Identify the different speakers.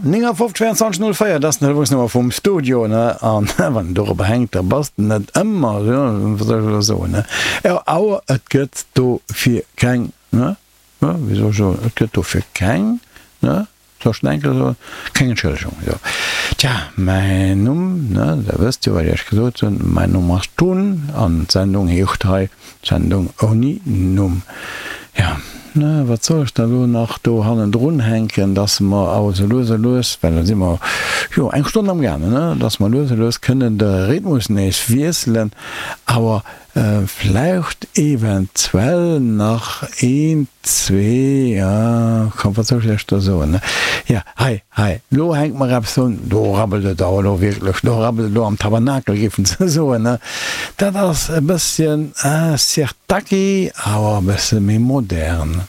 Speaker 1: 59 24 04, dat ass den Telefonsnummer vum Studio, ne? An wann en dorobber hänkt, da bass de net ëmmer, jo, wat soll ech elo soen, ne? Jo, awer et gëtt dofir keng, ne? Ne, wéi soll ech soen, et gëtt dofir keng, ne? Soll ech den Enkel soen? Keng Entschëllegung, jo. Tja, mäin Numm, ne, der wësst jo, wat ech iech gesot hunn, mäin Numm ass Tun an d'Sendung heescht hei Sendung ouni Numm. Jo, na, wat soll ech da lo nach do hannendrun hänken, dass mer awer sou lues a lues, well da si mer jo eng Stonn am gaangen, ne, dass mer lues a lues kënnen de Rhythmus nees wiesselen, awer vläicht eventuell nach een, zwee, ja, komm, wat soll ech lech da soen, ne? Jo, hei, Hei, lo hänkt mer eppes un, do rabbelt et awer elo wierklech, do rabbelt et elo am Tabernakel, géifen se soen, ne? Dat ass e bësschen Sirtaki, awer e bësse méi modern.